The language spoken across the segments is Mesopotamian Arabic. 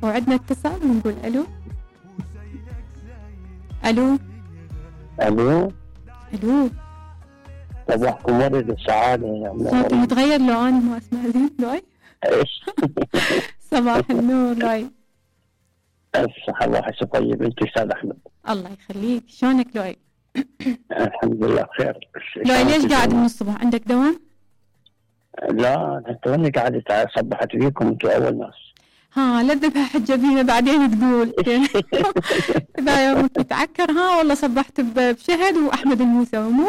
وعندنا اتصال ونقول الو. الو الو الو. صباحكم ورد السعادة يا عم. صوتي متغير لو انا ما اسمع زين لوي. ايش؟ صباح النور لوي. الصحة الله يحسن طيب. انت استاذ احمد؟ الله يخليك، شلونك لوي؟ الحمد لله بخير. لوي ليش قاعد من الصبح؟ عندك دوام؟ لا انا توني قاعد صبحت فيكم، انتم اول ناس. ها لا تذبح حجة فينا بعدين تقول. اذا يومك يتعكر ها والله صبحت بشهد واحمد الموسوي مو؟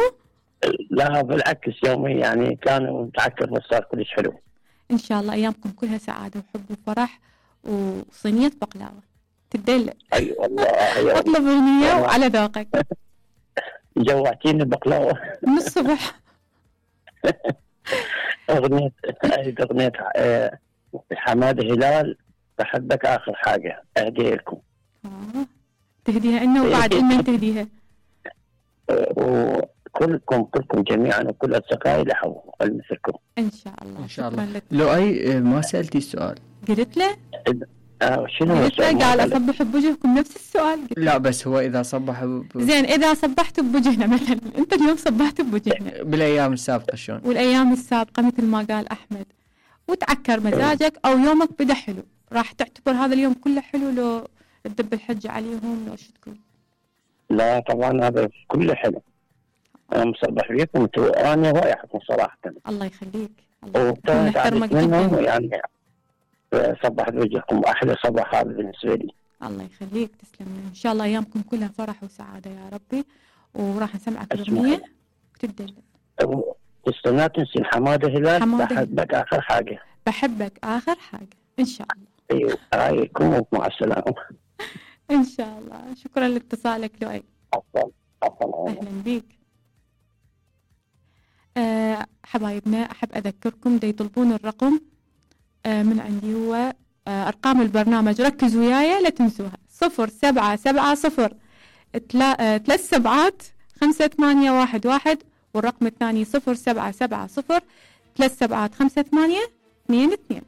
لا بالعكس يومي يعني كان متعكر بس صار كلش حلو. ان شاء الله ايامكم كلها سعادة وحب وفرح وصينية بقلاوة تدلل. اي والله اطلب اغنية وعلى ذوقك. جوعتيني بقلاوة من الصبح. اغنية حمادة هلال بحبك اخر حاجة اهديها لكم. تهديها انه وبعد من تهديها؟ وكلكم جميعا وكل اصدقائي لحوا مثلكم ان شاء الله. ان شاء الله. لو اي ما سالتي السؤال قلت له شنو قلت له قال اصبح بوجهكم نفس السؤال. لا بس هو اذا صبح زين اذا صبحت بوجهنا مثلا، انت اليوم صبحت بوجهنا بالايام السابقه شلون؟ والايام السابقه مثل ما قال احمد وتعكر مزاجك او يومك بدا حلو، راح تعتبر هذا اليوم كله حلو لو تدب الحجه عليهم لو شو تقول؟ لا طبعا هذا كله حلو. انا مصبح فيكم انا رايحكم صراحه. الله يخليك. ونحترمك جدا يعني. صبحت وجهكم احلى صباح هذا بالنسبه لي. الله يخليك تسلم. ان شاء الله ايامكم كلها فرح وسعاده يا ربي، وراح نسمعك الاغنيه وتدلل. تستنى تنسي حماده هلال بحبك اخر حاجه. بحبك اخر حاجه ان شاء الله. ايوه رايكم مع السلامه. ان شاء الله. شكرا لاتصالك لؤي. عفوا اهلا بيك. حبايبنا احب اذكركم دا يطلبون الرقم من عندي هو ارقام البرنامج، ركزوا وياي لا تنسوها. 0770 3 7 5 8 1 1 والرقم الثاني 0770 3 7 5 8 2 2.